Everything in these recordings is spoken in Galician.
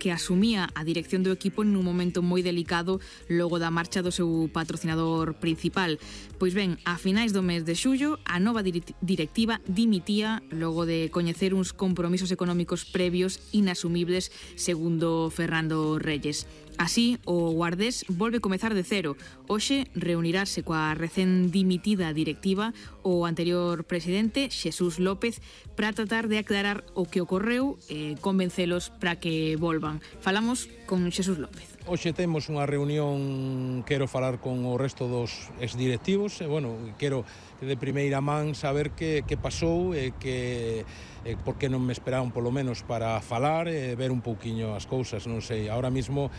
que asumía a dirección do equipo nun momento moi delicado logo da marcha do seu patrocinador principal. Pois ben, a finais do mes de xullo, a nova directiva dimitía logo de coñecer uns compromisos económicos previos inasumibles, segundo Fernando Reyes. Así, o Guardés volve comezar de cero. Hoxe reunirase coa recén dimitida directiva o anterior presidente, Xesús López, para tratar de aclarar o que ocorreu e convencelos para que volvan. Falamos con Xesús López. Hoxe temos unha reunión, quero falar con o resto dos exdirectivos, e, quero de primeira man saber que pasou e por que non me esperaron polo menos para falar e ver un pouquiño as cousas, non sei, ahora mismo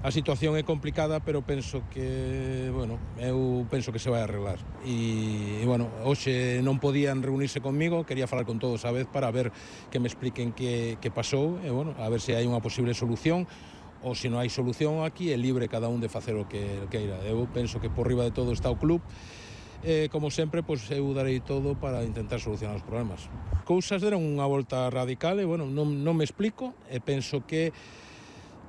a situación é complicada, pero penso que, eu penso que se vai arreglar. E hoxe non podían reunirse conmigo, quería falar con todos a vez para ver que me expliquen que pasou, e a ver se hai unha posible solución, ou se non hai solución aquí, é libre cada un de facer o que queira. Eu penso que por riba de todo está o club, como sempre, eu darei todo para intentar solucionar os problemas. Cousas deron unha volta radical e, non me explico, e penso que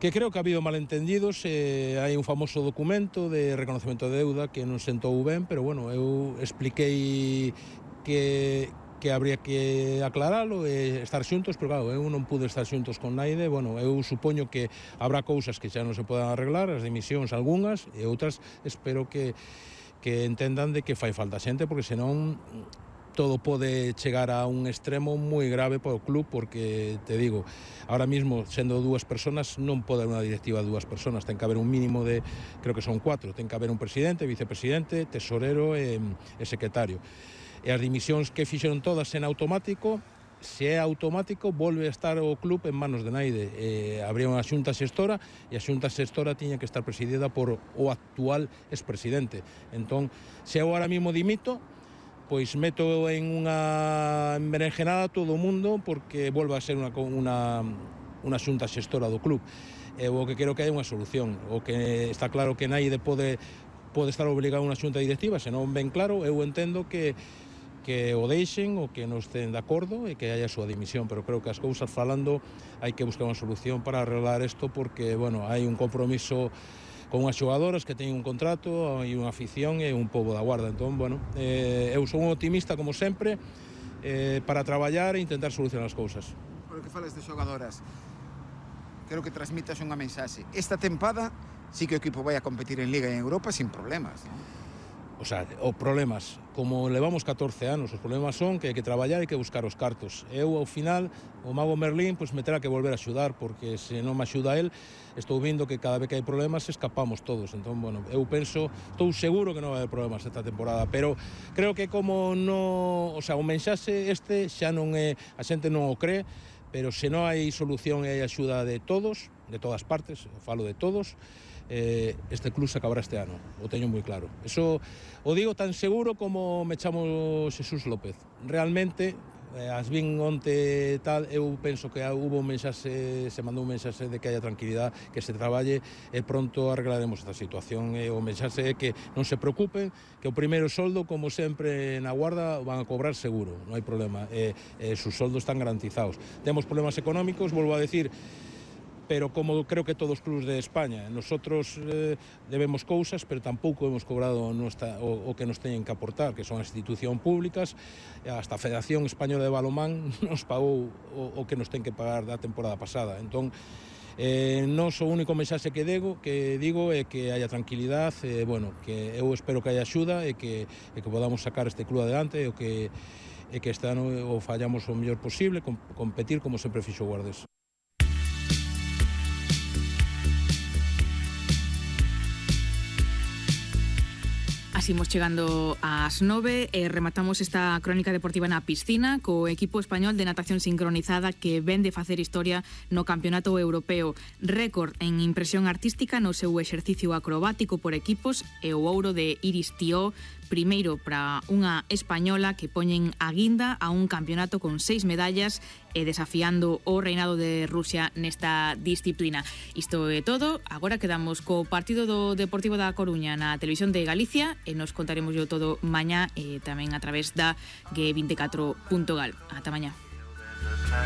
creo que ha habido malentendidos, hai un famoso documento de reconocemento de deuda que non sentou ben, pero eu expliquei que habría que aclaralo e estar xuntos, pero claro, eu non pude estar xuntos con naide, eu supoño que habrá cousas que xa non se podan arreglar, as dimisións algunhas, e outras espero que entendan de que fai falta xente, porque senón todo pode chegar a un extremo moi grave para o club, porque, te digo, ahora mismo, sendo dúas persoas, non pode haber unha directiva de dúas persoas, ten que haber un mínimo de, creo que son 4, ten que haber un presidente, vicepresidente, tesorero e secretario. E as dimisións que fixeron todas en automático, se é automático, volve a estar o club en manos de naide. Habría unha xunta xestora, e a xunta xestora tiña que estar presidida por o actual expresidente. Entón, se eu ahora mismo dimito, pois meto en unha berenjenada todo o mundo, porque volve a ser unha xunta xestora do club. O que quero que hai unha solución. O que está claro que naide pode estar obligado a unha xunta directiva, se non ben claro, eu entendo que o deixen, o que non estén de acordo e que haya a súa dimisión, pero creo que as cousas falando hai que buscar unha solución para arreglar isto, porque, hai un compromiso con unhas xogadoras que teñen un contrato e unha afición e un pobo da Guarda. Entón, eu son un optimista como sempre para traballar e intentar solucionar as cousas. Por o que falas de xogadoras, quero que transmitas unha mensaxe. Esta tempada sí que o equipo vai a competir en Liga e en Europa sin problemas, non? O sea, os problemas, como levamos 14 anos, os problemas son que hai que traballar e que buscar os cartos. Eu, ao final, o mago Merlín, me terá que volver a axudar, porque se non me axuda el, estou vindo que cada vez que hai problemas escapamos todos. Entón, eu penso, estou seguro que non vai haber problemas esta temporada, pero creo que como non, o mensaxe este xa non é, a xente non o cree, pero se non hai solución e hai axuda de todos, de todas partes, falo de todos, este club se acabará este ano, o teño moi claro. Eso o digo tan seguro como me chamo Xesús López. Realmente, as vin onte tal, eu penso que hubo un mensaxe, se mandou un mensaxe de que haya tranquilidade, que se traballe e pronto arreglaremos esta situación. O mensaxe é que non se preocupen, que o primeiro soldo, como sempre na Guarda, van a cobrar seguro, non hai problema, sus soldos están garantizados. Temos problemas económicos, volvo a decir, pero como creo que todos os clubs de España, nosotros debemos cousas, pero tampouco hemos cobrado o que nos teñen que aportar, que son as institucións públicas, hasta a Federación Española de Balonmán nos pagou o que nos ten que pagar da temporada pasada. Entón, non o único mensaxe que digo é que haya tranquilidade, que eu espero que haya axuda e que podamos sacar este club adelante e que este ano o fallamos o mellor posible, competir como sempre fixo o Guardés. Así imos chegando ás 9 e rematamos esta crónica deportiva na piscina co equipo español de natación sincronizada que ven de facer historia no Campeonato Europeo. Récord en impresión artística no seu exercicio acrobático por equipos e o ouro de Iris Tió, primeiro para unha española que poñen a guinda a un campeonato con 6 medallas e desafiando o reinado de Rusia nesta disciplina. Isto é todo, agora quedamos co partido do Deportivo da Coruña na televisión de Galicia e nos contaremos yo todo mañá e tamén a través da G24.gal. Ata mañá.